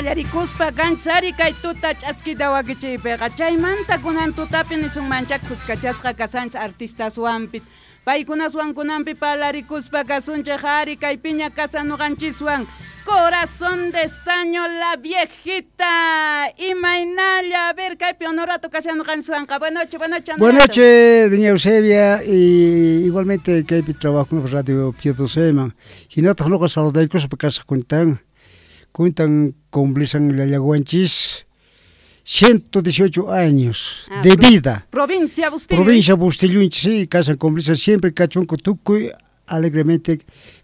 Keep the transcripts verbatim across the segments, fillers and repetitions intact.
Qallarikuspa kanchari kay tuta ch'askita wakichiypiqa chaymanta kunan tutapi nisunmancha kuskachasqa kasanchis artistaswanpis paykunaswan kunanpi parlarikuspa kasunchik ari kaypiña kasan ñuqanchiswan Corazón de Estaño, la viejita. Imaynalla, a ver, kaypi Honorato kashan ñuqanchiswanqa. Buenas noches, buenas noches. Buenas noches, doña Eusebia, y igualmente kaypi trabajo en Radio Pío Doce. Hinataq nuqa saludaykuspa kasaq kuntan kuntan cumplisan llallaguanchis ciento dieciocho años Ah, de pro- vida. Provincia Bustillo. Provincia Bustillo, sí, kasan cumplisan siempre kachunku tukuy alegremente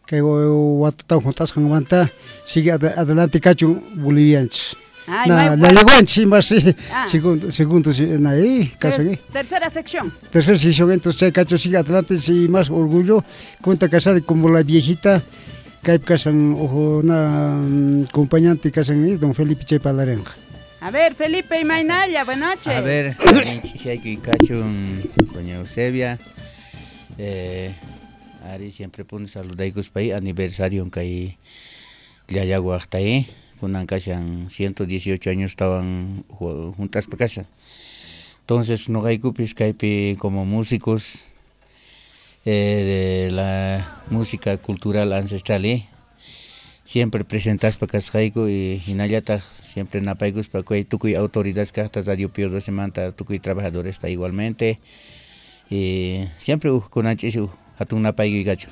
kay watatan juntasqanmanta sigue ad- adelante kachun bolivianchis. Ay, Na, may- llallaguanchis más sí, Ah. segundo, segundo, sí, na, eh, kasan, eh. Tercera sección. Tercer sesión, entonces chay cacho sigue adelante, sí, más orgullo, cuenta casar como la viejita, kay kasan ojo na mm, acompañante kasan eh, don Felipe Chay Palarenja. A ver, Felipe Imaynalla, buenas noches. A ver, ch'isiyaykuy kachun doña Eusebia. Eh, ari siempre puni saludaykuspa aniversario kay llallaguaqta eh. Kunan kashan ciento dieciocho años tawan juntaspa kashan. Entonces nuqaykupis kaypi como músicos eh, de la música cultural ancestral eh, siempre presentaspa kasqayku y hinallataq siempre napaykuspa kay tukuy autoridades kaqta Radio Pío Doce manta tukuy trabajadores igualmente y siempre uj kunanchis uj hatun napaykuy kachun.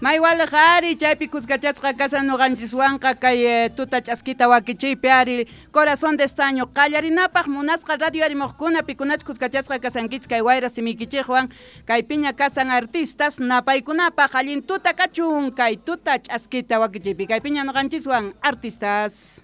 Maywalaq ari chaypi kuskachasqa kasan ñuqanchiswanqa kay eh, tuta ch'askita wakichiypi ari Corazón de Estaño. Qallarinapaq munasqa radio arimuqkuna, pikunach kuskachasqa kasankichik kay wayra simiykichikwan, kaypiña kasan artistas napaykunapaq. Allin tuta kachun kay tuta ch'askita wakichiypi kaypiña ñuqanchiswan artistas.